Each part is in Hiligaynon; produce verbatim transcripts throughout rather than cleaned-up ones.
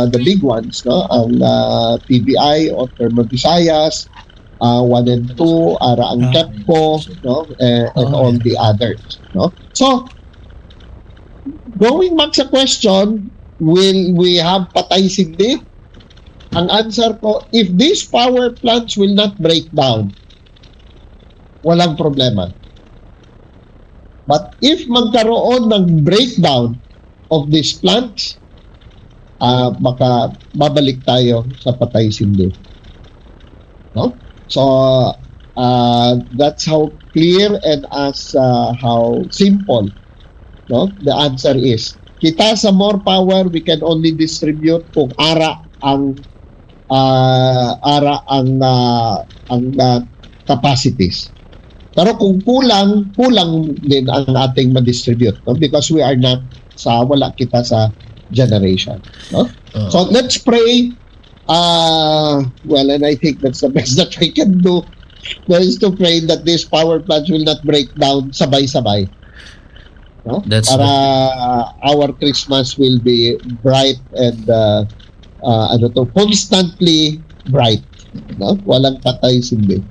the big ones, no? Ang, ah, P B I o Thermo Visayas, ah, one and two, ara ang Ah, KEPCO, no? Eh, and Ah, all okay. the others, no? So, going back sa question, will we have patay sindi? Ang answer ko, if these power plants will not break down, walang problema. But if magkaroon ng breakdown of these plants, ah, baka babalik tayo sa patay sindi. No? So, ah, that's how clear and as, ah, how simple, no? The answer is, kita sa More Power, we can only distribute kung ara ang, ah, ara ang, ah, ang, ah, capacities. Pero kung kulang, kulang din ang ating ma-distribute, no? Because we are not sa, wala kita sa generation, no? Oh. So let's pray. Uh, well, and I think that's the best that we can do, no, is to pray that these power plants will not break down sabay-sabay. No? That's Para our Christmas will be bright and, uh, uh, ano to, constantly bright. No? Walang patay sindi.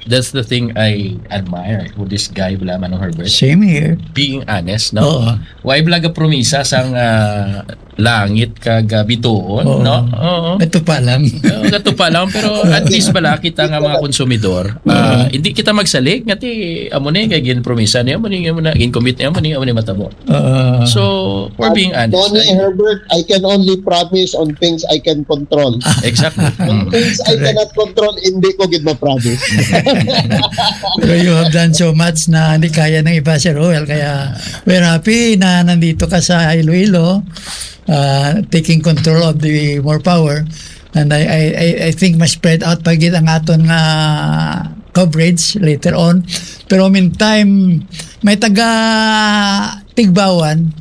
That's the thing I admire with this guy, bala, Manong Herbert. Same here. Being honest, no? Oo. Why bala ga promisa sang, ah, langit kag, ah, bituon, Oo. no? Oo. Ito pa lang. Oo, gato pa lang, pero at least bala kita nga mga konsumidor, ah, hindi kita magsalig nga ti amo ni kay ginpromisa niya, amo ni, amo na, gincommit niya, amo ni, amo ni matabo. Uh, So, for being honest, Tony I- Herbert, I can only promise on things I can control. Exactly. On Mm. things I cannot control, hindi ko gid ma-promise. Pero you have done so much na hindi kaya ng iba, Sir Roel. Kaya we're happy na nandito ka sa Iloilo, uh, taking control of the More Power. And I, I, I, I think mas spread out pa gid ang aton nga coverage later on. Pero meantime, may taga Tigbawan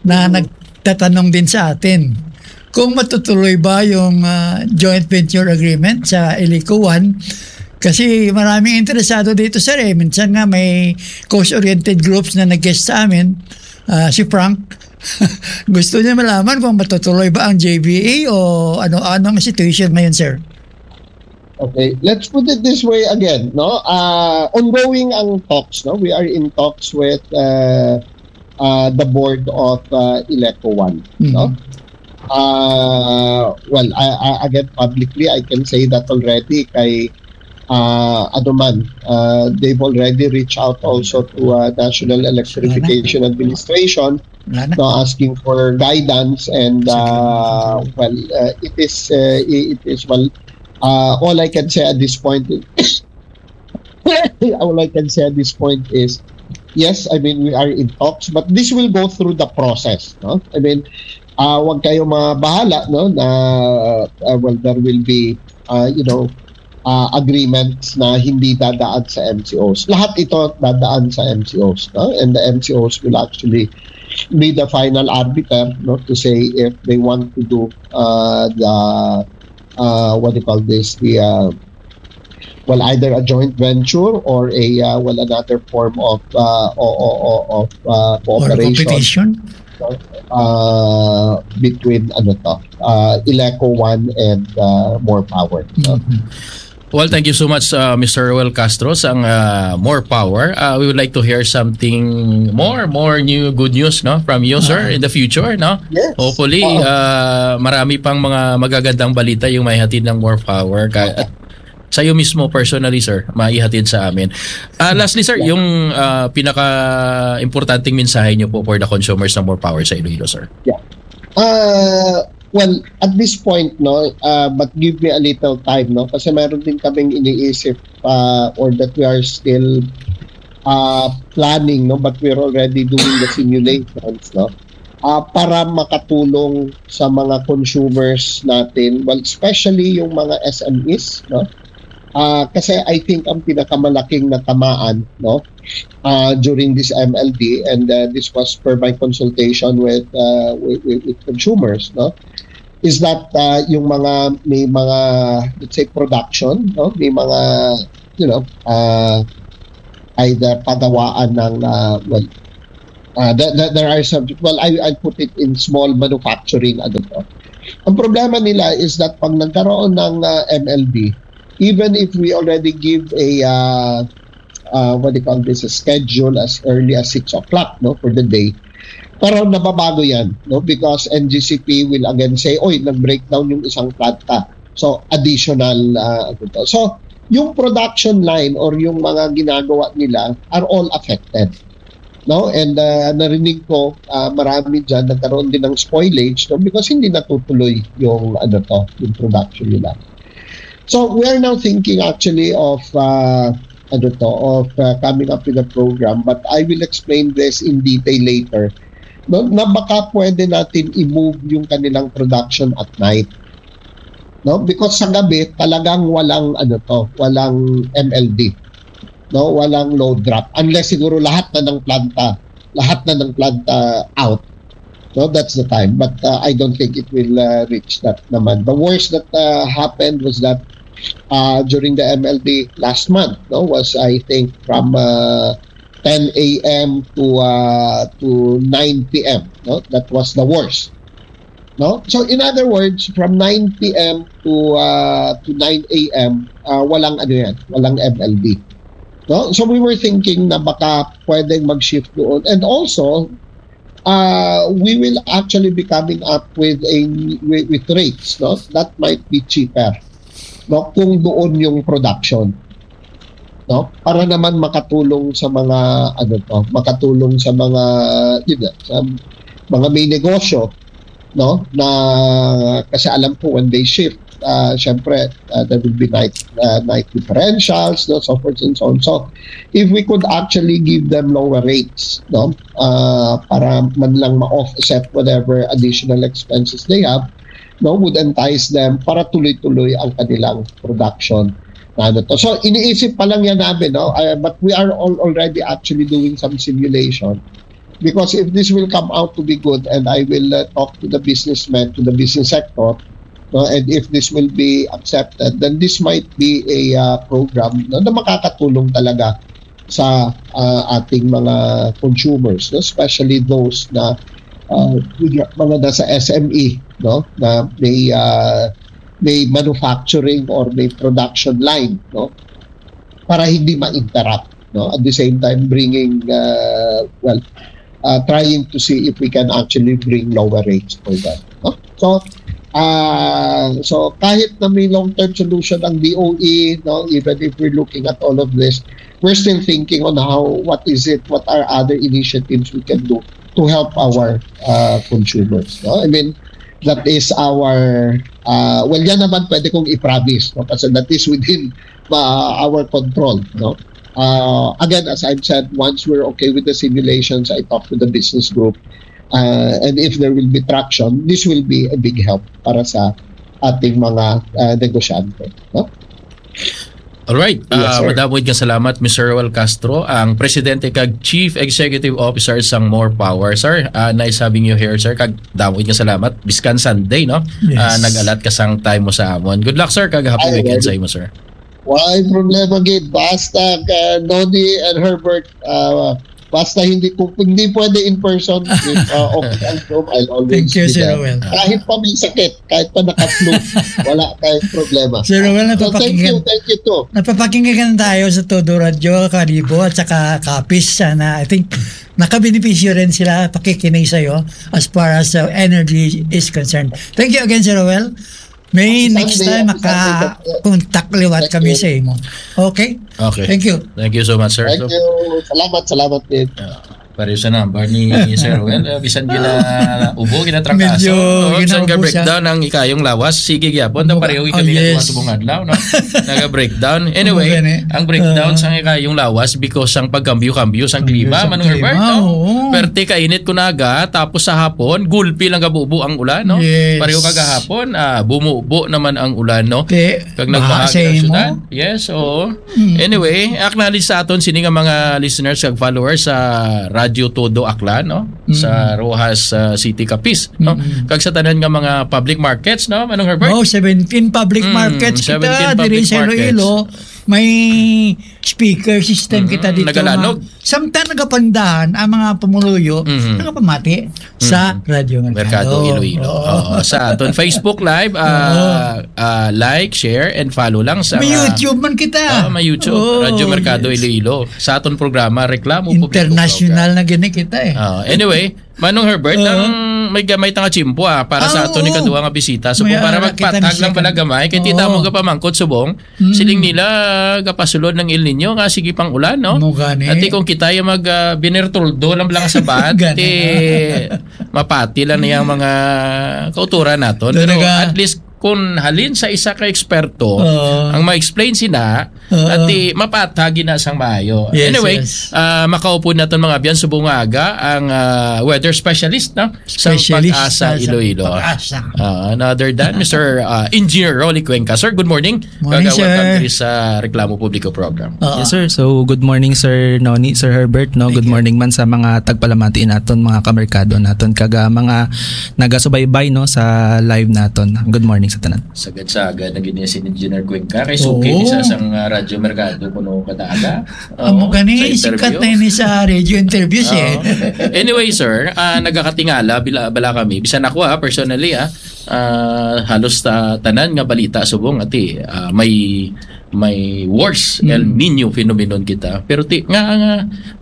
na nagtatanong din sa atin kung matutuloy ba yung, ah, joint venture agreement sa Ilico One. Kasi maraming interesado dito, sir, eh. Minsan nga may coast-oriented groups na nag-guest sa amin, ah, si Frank. Gusto niya malaman kung matutuloy ba ang J V A o ano, ano ang situation ngayon, sir? Okay, let's put it this way again, no? Uh, ongoing ang talks, no? We are in talks with, uh, uh, the board of, uh, Ileco One, no? Uh, well, I, I, again, publicly, I can say that already kay, uh, ano man, uh, they've already reached out also to, uh, National Electrification Administration, Wala na. no, asking for guidance and, uh, well, uh, it is, uh, it is, well, uh, all I can say at this point is, all I can say at this point is, yes, I mean, we are in talks, but this will go through the process, no? I mean, uh, wag kayo mabahala, no, na, uh, well, there will be, uh, you know, uh, agreements na hindi dadaan sa M C Os. Lahat ito dadaan sa M C Os, no? And the M C Os will actually be the final arbiter, no, to say if they want to do, uh, the, uh, what do you call this, the, uh, well, either a joint venture or a, uh, well, another form of, uh, o, o, o, of, uh, Or cooperation, competition? Uh, between, ano to, uh, Ileco One and, uh, More Power, no? Mhm. Well, thank you so much, uh, Mister Roel Castro, sang, uh, More Power. Uh, we would like to hear something more, more new good news, no, from you, sir, Ah. in the future, no? Yes. Hopefully, Oo. uh, marami pang mga magagandang balita yung may hatid ng More Power. Ka- at sa iyo mismo, personally, sir, maihatid sa amin. Uh, lastly, sir, yung, uh, pinaka-importanting mensahe niyo po for the consumers ng More Power sa Iloilo, sir. Uh, well, at this point, no, uh, but give me a little time, no, kasi meron din kaming iniisip, uh, or that we are still, uh, planning, no, but we're already doing the simulations, no, uh, para makatulong sa mga consumers natin, well, especially yung mga S M Es, no. Uh, kasi I think ang pinakamalaking natamaan, no, uh, during this M L D, and, uh, this was per my consultation with, uh, with, with, with consumers, no, is that, uh, yung mga, may mga, let's say, production, no, may mga, you know, uh, either pagawaan ng, uh, well, Uh, that, that there are some, well, I, I put it in small manufacturing. Ano to. Ang problema nila is that pag nagkaroon ng uh, M L D, even if we already give a uh, uh, what do you call this, a schedule as early as six o'clock, no, for the day, pero nababago yan, no, because N G C P will again say, "Oy, nag-breakdown yung isang planta." So, additional uh, ano to. So, yung production line or yung mga ginagawa nila are all affected, no? And uh, narinig ko, uh, marami dyan nagkaroon din ng spoilage, no? Because hindi natutuloy yung ano to, yung production nila. So we are now thinking actually of uh, ano to, of uh, coming up with a program, but I will explain this in detail later. No, na baka pwede natin i-move yung kanilang production at night. No, because sa gabi talagang walang ano to, walang M L D. No, walang load drop unless siguro lahat na ng planta, lahat na ng planta out. No, that's the time. But uh, I don't think it will uh, reach that naman. The worst that uh, happened was that uh, during the M L D last month, no, was, I think, from uh, ten a m to uh, to nine p m. No, that was the worst. No, so in other words, from nine p m to uh, to nine a m, uh, walang ano yan, walang M L D. No, so we were thinking na baka pwedeng mag-shift doon, and also uh, we will actually be coming up with a with, with rates, no, that might be cheaper, no, kung doon yung production, no, para naman makatulong sa mga ano to, makatulong sa mga, yun nga, sa mga may negosyo, no, na kasi alam ko when they shift, uh, syempre uh, there will be night uh, night differentials, no, so forth and so on. So if we could actually give them lower rates, no, uh, para man lang ma-offset whatever additional expenses they have, no, would entice them para tuloy-tuloy ang kanilang production. Na ano to. So iniisip pa lang yan namin, no? Uh, but we are all already actually doing some simulation. Because if this will come out to be good and I will uh, talk to the businessmen, to the business sector, no, and if this will be accepted, then this might be a uh, program, no, na makakatulong talaga sa uh, ating mga consumers, no, especially those na uh, mga nasa S M E, no, na may uh, may manufacturing or may production line, no, para hindi ma-interrupt, no? At the same time, bringing, uh, well, uh, trying to see if we can actually bring lower rates for them, no? So, uh, so kahit na may long-term solution ang D O E, no, even if we're looking at all of this, we're still thinking on how, what is it, what are other initiatives we can do to help our uh, consumers, no? I mean, that is our, uh, well, yan naman pwede kong i-promise, no? Kasi that is within uh, our control, no? Uh, again, as I've said, once we're okay with the simulations, I talk to the business group. Uh, and if there will be traction, this will be a big help para sa ating mga uh, negosyante, no? Alright. Yes, uh, madamo nga salamat, Mister Roel Castro, ang presidente kag chief executive officer sang More Power, sir. Uh, nice having you here, sir. Kag damo nga salamat. Biskan Sunday, no? Yes. Uh, nag-alat ka sang time mo sa amon. Good luck, sir. Kag happy Ay, weekend sa imo, sir. Why problema gid? Basta uh, Noni and Herbert, uh, basta hindi ko hindi pwede in person, if uh, okay ang Zoom, I'll always Thank you, Sir Roel. Kahit pa may sakit, kahit pa naka-flu, wala kayong problema. Sir Roel, so, thank you, thank you too. Napapakinggan tayo sa Todo Radio, Kalibo at saka Kapis. Sana, I think, nakabenepisyo rin sila pakikinig sa'yo as far as uh, energy is concerned. Thank you again, Sir Roel. May next time maka-contact liwat kami sa imo. Okay? Okay. Thank you. Thank you so much, sir. Thank you. Salamat, salamat din. Uh, Pareho sa number ni Sir Well, uh, bisan gina ubo, gina trangkaso. Medyo ginaubo siya. Breakdown ang ikayong lawas. Sige gyapon, ta pareho kami oh, yes. Subong adlaw, no? Naga-breakdown. Anyway, ang breakdown uh, sa ikayong lawas because ang pagkambyo-kambyo sa klima, Manong Herbert, no? Oo. Perte kainit ko naga, tapos sa hapon, gulpi lang gabubo ang ulan, no? Yes. Pareho kagahapon, ah, bumubo naman ang ulan, no? Kag nagbaha sa syudad. Yes, oo. Mm. Anyway, acknowledge sa aton sini nga mga listeners kag followers sa Radyo Todo Aklan, no? Mm. Sa Roxas uh, City, Capiz, no? Mm. Kag sa tanan nga mga public markets, no? Manong Herbert? Oh, seventeen public mm, markets kita diri sa Iloilo. May speaker system Mhm, kita dito, nagalanog. Samtang nagapandahan ang mga pumuluyo, Mhm. nagapamati sa Mhm. Radyo Merkado. Merkado Iloilo. Oo. Oo, sa aton Facebook Live, ah, Oo. ah, like, share, and follow lang sa May mga YouTube man kita. Oo, may YouTube, Oo, Radyo Merkado yes. Iloilo. Sa aton programa, Reklamo Publiko International Program. Na gini kita eh. Ah, anyway, Manong Herbert, Oo. ang may gamay ta nga tiyempo, ah, para sa Ah, aton oo. ikaduha nga bisita. So, May kung para ara kita magpatag ni lang pala second. gamay, kay tita Oo. mo gapamangkot subong, Mm. siling nila, gapasulod ng El Nino nga sige pang ulan, no? Mo gani. Ati kung kita yung mag, ah, binertoldo lang lang sa bat, Gani. ti mapati lang niyang mga kauturan naton. Pero Talaga. at least, kung halin sa isa ka eksperto, Oo. ang ma-explain sina, Oo. ati mapatag na sang maayo. Yes, Anyway, yes. ah, makaupo naton mga abyan subong nga aga ang, ah, weather specialist, no? Sa Specialist Pag-asa sa, sa Iloilo. Pag-asa. Ah, another than Mister ah, Engineer Rolly Cuenca. Sir, good morning. Morning, Kag, ah, welcome sir. diri sa Reklamo Publiko Program. Oo. Yes, sir. So, good morning, Sir Noni, Sir Herbert, no? Thank Good you. morning man sa mga tagpalamati naton, mga kamerkado naton, kag, ah, mga nagasubaybay, no, sa live naton. Good morning sa tanan. Sagad-sagad na gid niya si Engineer Cuenca. Kay suki Oo. ni sa sang, ah, Radyo Merkado kuno kada aga. Amo Oo, gani, sa sikat interview. na ini sa radio interviews, eh. Oo. Anyway, sir, ah, nagakatingala bila, bala kami. Bisan ako, ah, personally, ah, ah, halos ta-, tanan nga balita subong ati, ah, may, may worse El Mm. Nino phenomenon kita. Pero ti, nga, nga,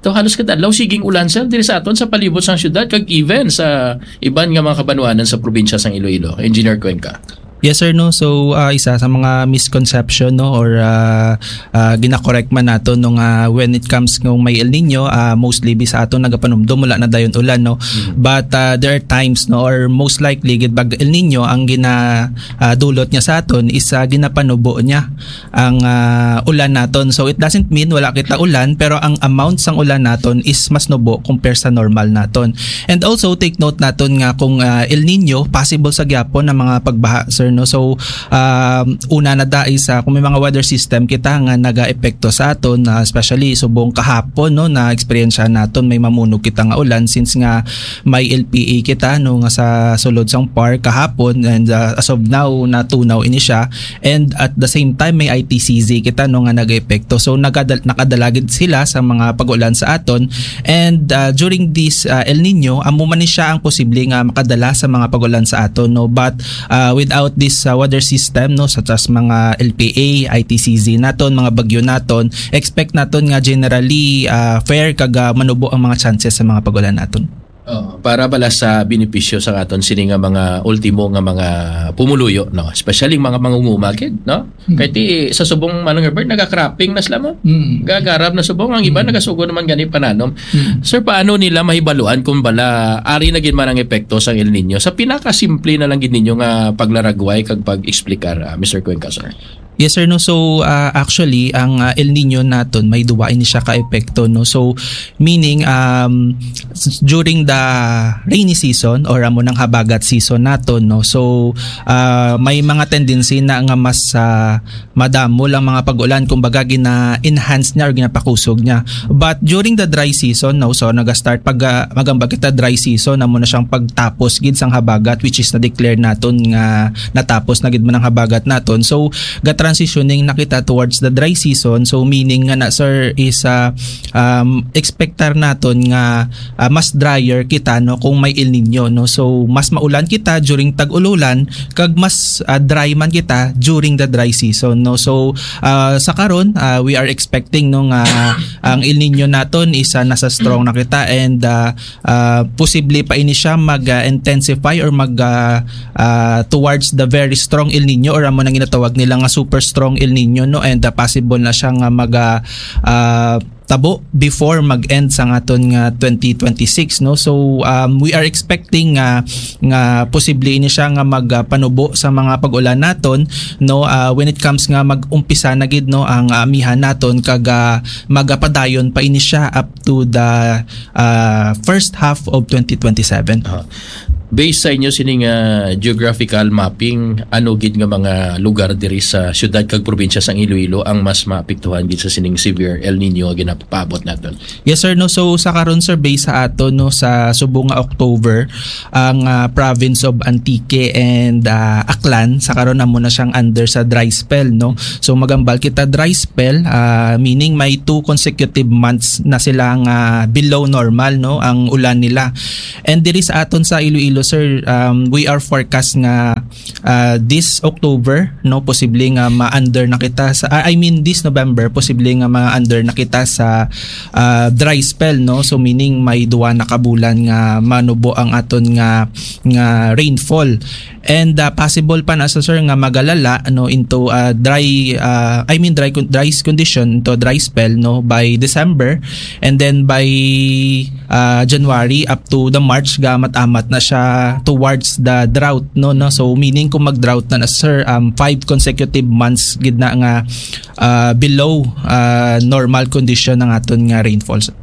to halos kada adlaw siging ulan, sir, diri sa aton sa palibot sang syudad kag even sa iban nga mga kabanwanan sa probinsya sang Iloilo. Engineer Cuenca. Yes, sir, no. So, ah, isa sa mga misconception, no, or, ah, ah, ginakorek man nato, no, nga when it comes kung may El Nino, ah, mostly bi sa aton nagapanumdum, wala na dayon ulan, no. Mm. But, ah, there are times, no, or most likely gid pag El Nino ang gina, ah, dulot niya sa aton is, ah, ginapanubo niya ang, ah, ulan naton. So, it doesn't mean wala kita ulan, pero ang amount sang ulan naton is mas nubo compare sa normal naton. And also, take note naton nga kung, ah, El Nino, possible sa gyapon ang mga pagbaha, sir, no? So, um, una na dai sa, kung may mga weather system kita nga nagaepekto sa aton, ah, especially subong kahapon, no, na eksperyensya naton, may mamunog kita nga ulan since nga may L P A kita, no, nga sa sulod sang park kahapon, and, ah, as of now, natunaw ini siya. And at the same time, may I T C Z kita, no, nga nagaepekto. So, nagada-, nakadala gid sila sa mga pag-ulan sa aton. And, ah, during this, ah, El Nino, amo man ni siya ang posible nga makadala sa mga pag-ulan sa aton, no? But, ah, without this, ah, weather system, no, such as mga L P A, I T C Z naton, mga bagyo naton, expect naton nga generally, ah, fair kag, ah, manubo ang mga chances sa mga pag-ulan naton. Oo, para bala sa benepisyo sa aton sini nga mga ultimo nga mga pumuluyo, no? Especially mga mangunguma gid, no? Hmm. Kay ti, sa subong, Manong Herbert, naga-cropping na sila mo. Hmm. Gagarab na subong, ang iba Hmm. nagasugod naman gani pananom. Hmm. Sir, paano nila mahibaluan kung bala ari na gid man ang epekto sang El Nino? Sa pinakasimple na lang gid ninyo nga paglaragway kag pag-explicar, ah, Mister Cuenca, sir. Yes, sir, no. So, ah, actually, ang, ah, El Nino naton may duwa ini siya ka epekto, no. So, meaning, um, s-, during the rainy season or amo nang habagat season naton, no. So, ah, may mga tendency na nga mas, ah, madamo lang mga pag-ulan, kumbaga gina-enhance niya or ginapakusog niya. But during the dry season, no, so naga-start pag, ah, magambag kita dry season, amo na siyang pagtapos gid sang habagat, which is na-declare naton nga natapos na gid man ang habagat naton. So, ga-transitioning na kita towards the dry season. So, meaning nga na, sir, is, ah, um, expectar naton nga, ah, mas drier kita, no, kung may El Nino, no. So, mas maulan kita during tag-ululan, kag mas, ah, dry man kita during the dry season, no. So, ah, sa karon, ah, we are expecting, no, nga ang El Nino naton is, ah, nasa strong na kita, and, ah, ah, posible pa ini siya mag, ah, intensify or mag, ah, ah, towards the very strong El Nino, or amo nang ginatawag nila nga super strong El Nino, no, and, ah, possible na siya nga mag, ah, ah, tabo before mag-end sa aton nga twenty twenty-six, no. So, um, we are expecting nga, nga posible ini siya nga mag, ah, panubo sa mga pag-ulan naton, no, ah, when it comes nga mag-umpisa na gid, no, ang, ah, amihan naton, kag, ah, magapadayon pa ini siya up to the, ah, first half of twenty twenty-seven. Ah. Based sa inyo sining, ah, geographical mapping, ano gid nga mga lugar diri sa siyudad kag probinsya sang Iloilo ang mas maapektuhan gid sa sining severe El Nino nga ginapaabot naton? Yes, sir, no. So, sa karon, sir, based sa ato, no, sa subong nga October, ang, ah, province of Antique and, ah, Aklan sa karon amo na siyang under sa dry spell, no. So, magambal kita dry spell, ah, meaning may two consecutive months na sila nga below normal, no, ang ulan nila. And diri sa aton sa Iloilo, sir, um, we are forecast nga, ah, this October, no, posible nga ma-under na kita sa, ah, I mean, this November, posible nga ma-under na kita sa, ah, dry spell, no. So, meaning may duwa na ka bulan nga manubo ang aton nga, nga rainfall. And, ah, possible pa na sa, sir, nga magalala, no, into, ah, dry, ah, I mean, dry con-, dry condition, into dry spell, no, by December. And then by, ah, January up to the March, gamat-amat na siya towards the drought, no, no. So, meaning, kung mag-drought na na, sir, um, five consecutive months gid na nga, ah, below, ah, normal condition ang aton nga rainfall, sir.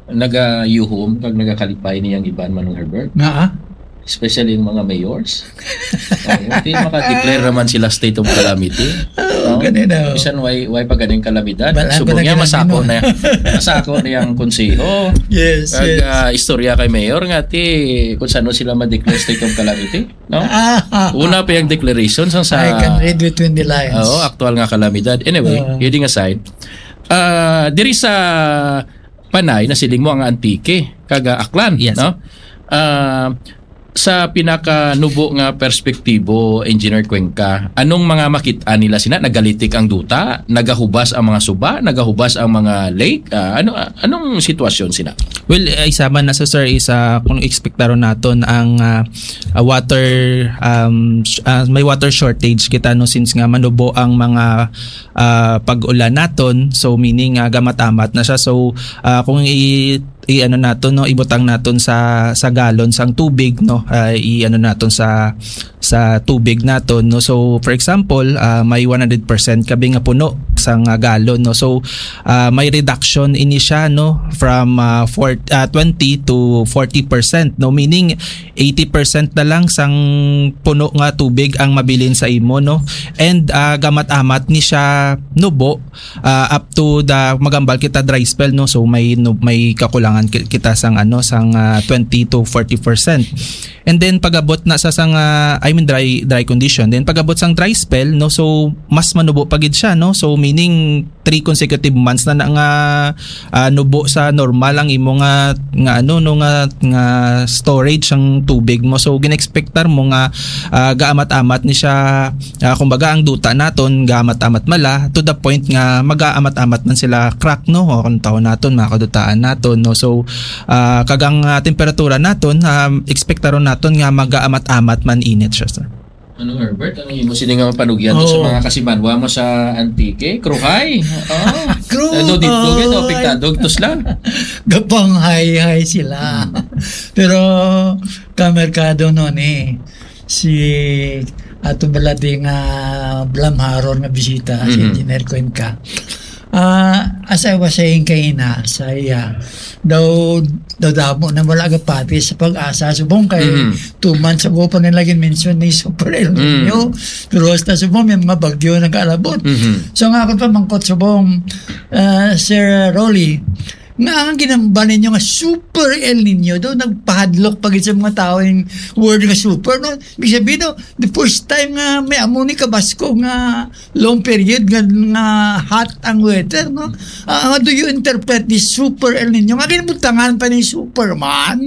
Nagayuhom kag nagakalipay niyang iban, Manong Herbert. Nga, ah? Especially yung mga mayors. Oo, di maka-declare naman sila state of calamity. Oo, No? Ganun daw. Bisan why, why pa ganing kalamidad? Wala Subong pa niya, na masako ganun. na, masako na yung konseho. Yes, Kag, yes. ah, istorya kay mayor nga, ti, kung saan sila ma-declare state of calamity. No? Ah, ah, Una ah, pa yung ah. declaration sang sa I can read between the lines. Oo, aktual nga kalamidad. Anyway, Oo. kidding aside, ah, diri sa Panay, nasiling mo ang Antique, kag, ah, Aklan, Yes. no? Ah, sa pinakanubo nga perspektibo, Engineer Cuenca, anong mga makit-an nila sina? Nagalitik ang duta? Nagahubas ang mga suba? Nagahubas ang mga lake? Ah, ano, ah, anong sitwasyon sina? Well, eh, isa man na sa, sir, is, ah, kung ekspektaron naton ang, ah, ah, water, um, sh-, ah, may water shortage kita, no, since nga manubo ang mga, ah, pag-ulan naton. So, meaning, ah, gamat-amat na siya. So, ah, kung i-, i-ano naton, no, ibutang naton sa, sa galon sang tubig, no, ah, i-ano naton sa, sa tubig naton, no. So, for example, ah, may one hundred percent kabi nga puno sang, ah, galon, no. So, ah, may reduction ini siya, no, from, ah, four, ah, twenty to forty percent, no, meaning eighty percent na lang sang puno nga tubig ang mabilin sa imo, no. And, ah, gamat-amat ni siya nubo, ah, up to the, magambal kita, dry spell, no. So may, no, may kakulangan ki-, kita sang, ano, sang, ah, twenty to forty percent. And then pag-abot na sa, sang, ah, I mean, dry, dry condition. Then pag-abot sang dry spell, no, so mas manubo pa gid siya, no. So meaning three consecutive months na, na nga, ah, nubo sa normal ang imo nga, nga, ano, no, nga, nga storage ang tubig mo. So gin-expectar mo nga, ah, gaamat-amat ni siya, ah, kumbaga, ang duta naton gaamat-amat mala to the point nga magaamat-amat man sila crack, no, o kung tawon naton, mga kadutaan naton, no. So, ah, kag ang, ah, temperatura naton, ah, ekspektaron naton nga magaamat-amat man init siya, sir. Ano, Herbert? Ano imo sini nga panugyan to sa Oh. mga kasimanwa mo sa Antique? Kruhay? Oh. Kru-, Ano dito? Ano, oh, apektado? Tos lang. Gapang hay-hay sila. Hmm. Pero kamerkado no ni si ato balati nga blamharon nga bisita, si Mhm. Engineer Cuenca. Ah, as I was saying kaina sa iya, daw, daw damo na wala gapati sa PAGASA. Subong kay Mhm. two months ago pa nila gin-mention ni Super El Nino. Mm. Pero hasta subong may mga bagyo nag-aalabot. Mhm. So nga ako pa mangkot subong, ah, Sir Rolly, nga ang ginamba ninyo nga Super El Nino daw nagpahadlok pa gid sa mga tao yung word nga super, no? Ibig sabihin, no, the first time nga may amo ni kabasko nga long period nga, nga hot ang weather, no? Ah, how do you interpret this Super El Nino? Nga ginbutangan pa ni Superman?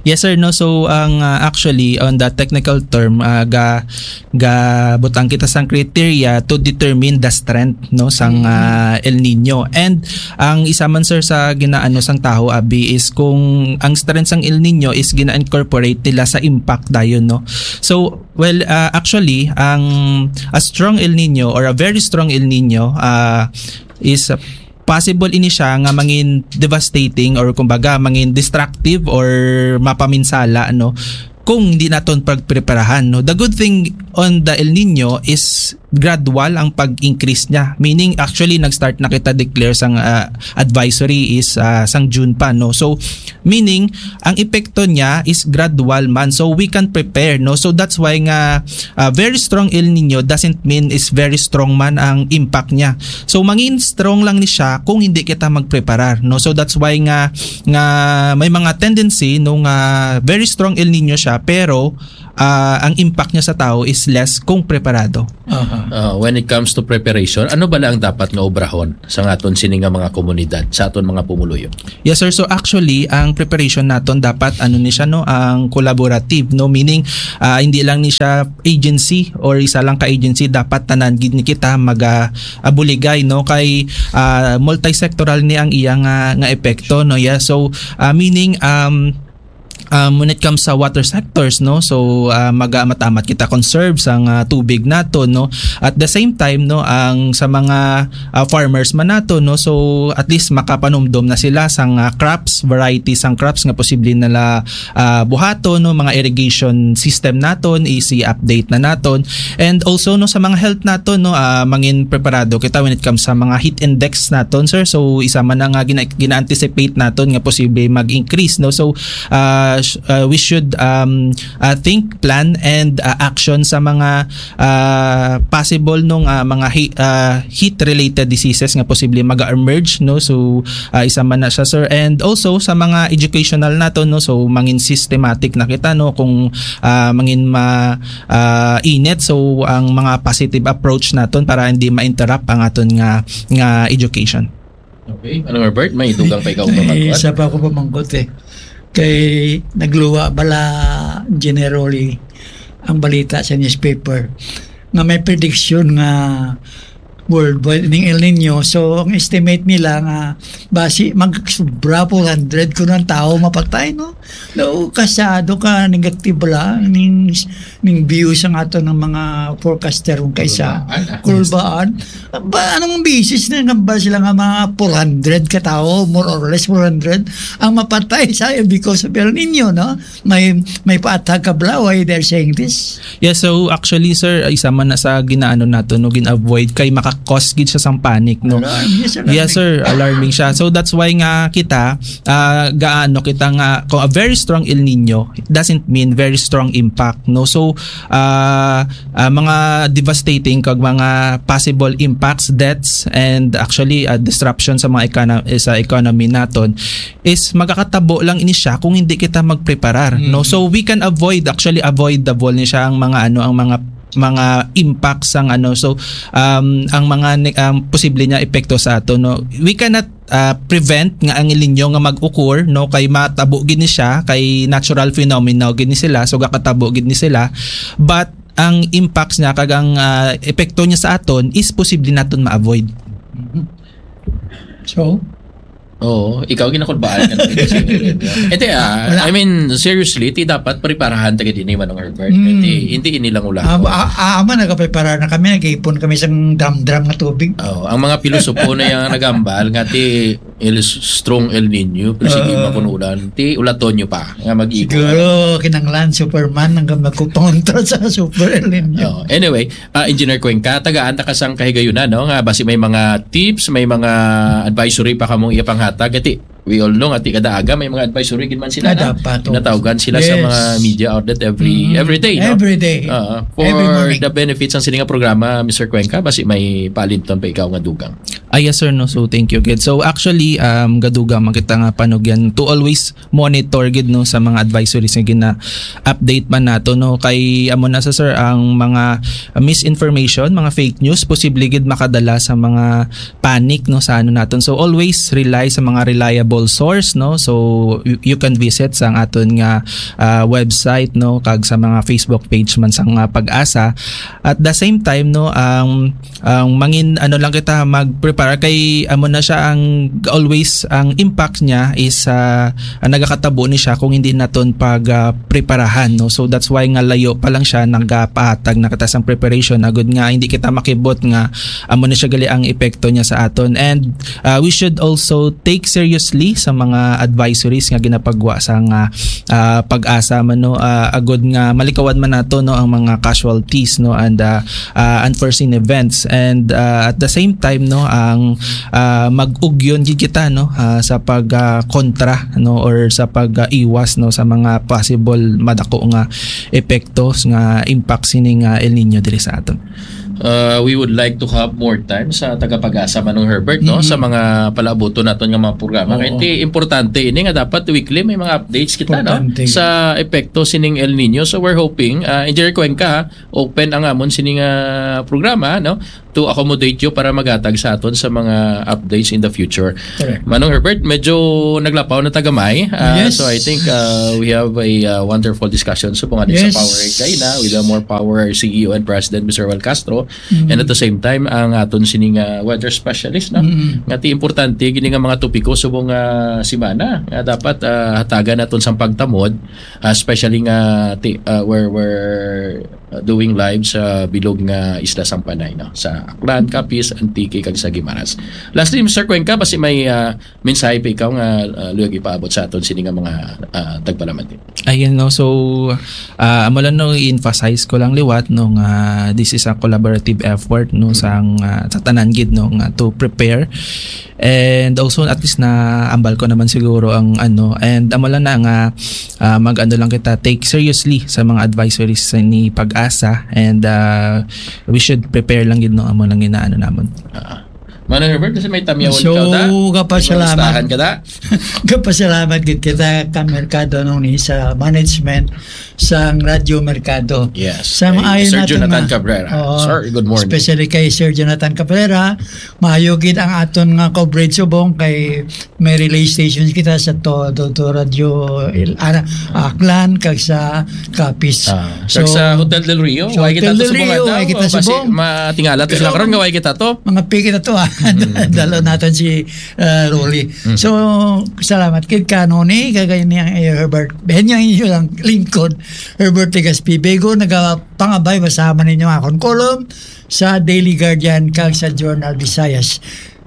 Yes, sir, no. So, ang, ah, actually, on the technical term, ah, ga-, gabutang kita sang criteria to determine the strength, no, sang, Mm. ah, El Nino. And ang isa man, sir, sa ginaano sang tawo, abi, is kung ang strength sang El Nino is gina-incorporate nila sa impact dayon, no. So, well, ah, actually, ang a strong El Nino or a very strong El Nino, ah, is possible ini siya nga mangin devastating or, kumbaga, mangin destructive or mapaminsala, no, kung hindi naton pagpreparahan, no. The good thing on the El Nino is gradual ang pag-increase niya. Meaning, actually, nag-start na kita declare sang, ah, advisory is, ah, sang June pa, no? So, meaning, ang epekto niya is gradual man. So, we can prepare, no? So, that's why nga, ah, very strong El Nino doesn't mean is very strong man ang impact niya. So, mangin strong lang ni siya kung hindi kita magpreparar, no? So, that's why nga, nga may mga tendency, no, nga very strong El Nino siya, pero, ah, ang impact niya sa tao is less kung preparado. Aha. Uh, when it comes to preparation, ano bala ang dapat nga obrahon sa aton sini nga mga komunidad, sa aton mga pumuluyo? Yes, sir. So, actually, ang preparation naton dapat, ano ni siya, no, ang collaborative, no, meaning, ah, hindi lang ni siya agency or isa lang ka agency, dapat tanan gid ni kita mag, ah, abuligay, no, kay, ah, multisectoral ni ang iya nga, nga epekto, no. Yeah. So, ah, meaning, um, um, when it comes sa water sectors, no, so, ah, maga-, matamat kita conserve sang, ah, tubig nato, no. At the same time, no, ang sa mga, ah, farmers man nato, no, so at least makapanumdom na sila sang, ah, crops, variety sang crops nga posible nila, ah, buhaton, no, mga irrigation system naton, easy update na naton. And also, no, sa mga health naton, no, ah, mangin preparado kita when it comes sa mga heat index naton, sir. So, isa man na nga gina-, gina-anticipate naton nga posible mag-increase, no. So, ah, sh-, ah, we should, um, ah, think, plan, and, ah, action sa mga, ah, possible nung, ah, mga he-, ah, heat-related diseases nga posible mag-emerge, no. So, ah, isa man na siya, sir. And also sa mga educational naton, no. So, mangin systematic na kita, no, kung, ah, mangin ma-, ah, init. So, ang mga positive approach naton para hindi ma-interrupt ang aton nga, nga education. Okay. Ano, Herbert? May dugang pa ikaw Ay, pamangkot? Isa pa ako pamangkot, eh. Kay nagluwa bala generally ang balita sa newspaper nga may prediction nga worldwide ning El Nino. So, ang estimate nila nga basi magsubra four hundred kuno ang tao mapatay, no? No, kasado ka negative bala ning, ning view sa aton nga mga forecaster kung kaisa. Kulbaan, ah. Kulbaan. Ba, anong basis na nga ba sila nga mga four hundred ka tawo, more or less four hundred, ang mapatay sa because of El Nino, no? May, may paatag ka bala why they're saying this? Yeah, so actually, sir, isa man na sa ginaano nato, no, gin-avoid kay maka-cause gid siya sang panic, no? Alarm, yes, alarming. Yes, sir, alarming siya. So that's why nga kita, ah, gaano kita nga, kung a very strong El Nino, it doesn't mean very strong impact, no? So, ah, ah, mga devastating kag mga possible impacts, deaths, and actually, ah, disruption sa mga econo-, sa economy naton is magakatabo lang ini siya kung hindi kita magpreparar, no? Mm. So, we can avoid, actually, avoidable ni siya ang mga, ano, ang mga, mga impacts sang, ano. So, um, ang mga ne-, ang posible niya epekto sa ato, no? We cannot, ah, prevent nga ang El Nino nga mag-occur, no? Kay matabo gid ni siya, kay natural phenomena gid ni sila, so gakatabo gid ni sila. But ang impacts niya kag ang, ah, epekto niya sa aton is posible naton ma-avoid. Mhm. So? Oo, ikaw ginakulbaan ka na. Hindi, ah, Wala. I mean, seriously, ti dapat preparahan ta gid ini, Manong Herbert. Mm. Hindi, hindi ini lang ulagon. Ah, ah, ah, ama, nagaprepara na kami, nag-ipon kami sang drum-drum nga tubig. Oh, ang mga pilosopo na yang nagambal nga ti El, strong El Nino, pero sige, Oo. makunulan. Ti ulaton nyo pa nga mag-ipon. Siguro, kinanglan Superman ang magkupangontra sa Super El Nino. Oh, anyway, ah, Engineer Cuenca, tagaan ta ka sang kahigayunan, no? Nga basi may mga tips, may mga advisory pa kamong iyapanghatag. Ati, we all know, ati kada aga may mga advisory gid man sila Ah, na dapat, oo. natawgan sila sa Yes. mga media outlet every, Mm, every day, no? every day. Ah, for Every morning. the benefits sang sini nga programa, Mister Cuenca, basi may paalinton pa ikaw nga dugang. Ah, yes, sir, no. So, thank you gid. So, actually, um, gadugang man kita nga panugyan to always monitor gid, no, sa mga advisories nga gina-update man nato, no. Kay amo na sa, sir, ang mga misinformation, mga fake news, posible gid makadala sa mga panic, no, sa ano naton. So, always rely sa mga reliable source, no. So, you, you can visit sa ang aton nga, ah, website, no, kag sa mga Facebook page man sa nga PAGASA. At the same time, no, ang, ang mangin, ano lang kita, mag-prepare kay amo na siya ang always, ang impact niya is, ah, ang nagakatabo ni siya kung hindi naton pag, ah, preparahan, no? So that's why nga layo pa lang siya nagapahatag na kita sang preparation, agud nga hindi kita makibot nga amo na siya gali ang epekto niya sa aton. And, ah, we should also take seriously sa mga advisories nga ginapagwa sa nga, ah, PAGASA man, no, ah, agud nga malikawan man nato, no, ang mga casualties, no, and, ah, ah, unforeseen events. And, ah, at the same time, no, ang, ah, mag-ugyon gid kita, no, ah, sa pag, ah, kontra, no, or sa pag, ah, iwas, no, sa mga possible madako nga epektos nga impact sini nga El Nino diri sa aton. Uh, we would like to have more time sa taga PAGASA, Manong Herbert, no, Mm-hmm. sa mga palaabuton naton nga mga programa. Kay Oo. ti importante ini nga dapat weekly may mga updates kita, no, Importante. sa epekto sining El Nino. So we're hoping, uh, Engineer Cuenca, ha, open ang amon sining, uh, programa, no, to accommodate you para magatag sa aton sa mga updates in the future. Correct. Manong Herbert, medyo naglapaw na ta gamay. Uh, Yes. so I think, uh, we have a, uh, wonderful discussion sa mga Yes. sa Power Area na with the More Power C E O and President, Mister Roel Castro. Mm. And at the same time, ang aton sining, uh, weather specialist, no? Mm. Nga ti importante gini nga mga topiko subong nga semana nga dapat, uh, hatagan naton sang pagtamod, uh, especially nga ti, uh, where, where, uh, doing live sa bilog nga Isla sang Panay, no? Sa Aklan, Capiz, Antique, kag sa Guimaras. Lastly, Mister Cuenca, basi may, uh, mensahe pa ikaw nga, uh, luyag ipaabot sa aton sini nga mga, uh, tagpalamati? Ayun, no. So, uh, amo lang, no, i-emphasize ko lang liwat, no, nga this is a collaborative effort, no, Mm. sang, uh, sa tanan gid, no, nga to prepare. And also, at least na ambal ko naman siguro ang ano. And amo lang na nga, uh, mag-ano lang kita, take seriously sa mga advisories sa ni PAGASA. And, uh, we should prepare lang gid, no, amo lang inaano namon. Ah. Manong Herbert, kasi may tamyawan So, ikaw, da? kapasalamat. May mga listahan ka, da? Kapasalamat gid kita ka merkado nung ni sa management sang Radyo Merkado. Yes. Sa Kay maayo Sir naton Jonathan nga Cabrera. Oo. Sir, good morning. Especially kay Sir Jonathan Cabrera, maayo gid ang aton nga coverage subong kay may relay stations kita sa to, to, to Radyo Il-, ana, Aklan, kag sa Capiz. Ah, So, kag sa Hotel Del Rio, sa way kita Hotel to Del subong Rio, adlaw, way kita basi subong. matingala to sila Pero karon nga way kita to. Mga piki na to, ah. Mm. Dalo natin si, ah, Rolly. Mm. So, salamat kid ka, Noni, kagay ni ang, eh, Herbert. Ben, yung inyo lang lingkod, Herbert Tegaspi. Bego, nagapangabay, basahan man ninyo akon column sa Daily Guardian kag sa Journal Visayas.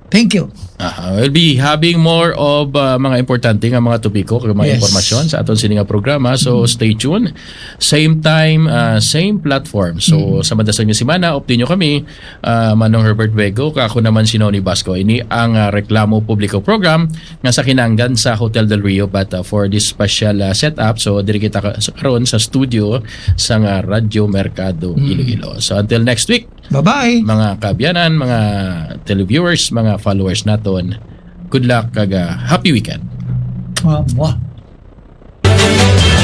Thank you. Aha, we'll be having more of, uh, mga importante nga mga topiko kag mga Yes. impormasyon sa aton sini nga programa. So, Mm. stay tuned. Same time, uh, same platform. So, Mm. sa madason nga semana, update nyo kami, uh, Manong Herbert Vego, kag ako naman si Noni Basco. Ini ang, uh, Reklamo Publiko program nga sa kinanggan sa Hotel Del Rio, but, uh, for this special, uh, setup, so diri kita ka-, sa, karon sa studio sa nga Radyo Merkado Mm. Iloilo. So, until next week, Bye-bye. mga kaabyanan, mga televiewers, mga followers naton, good luck kag, uh, happy weekend. Mwah, mwah.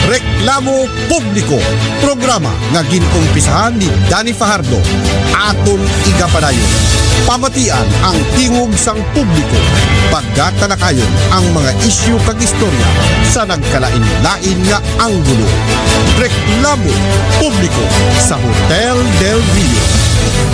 Reklamo Publiko, programa nga gin-umpisahan ni Danny Fajardo. Aton igapadayon, pamatian ang tingog sang publiko. Pagkatalakayon ang mga isyu kag istorya sa nagkalain-lain nga anggulo. Reklamo Publiko sa Hotel Del Rio.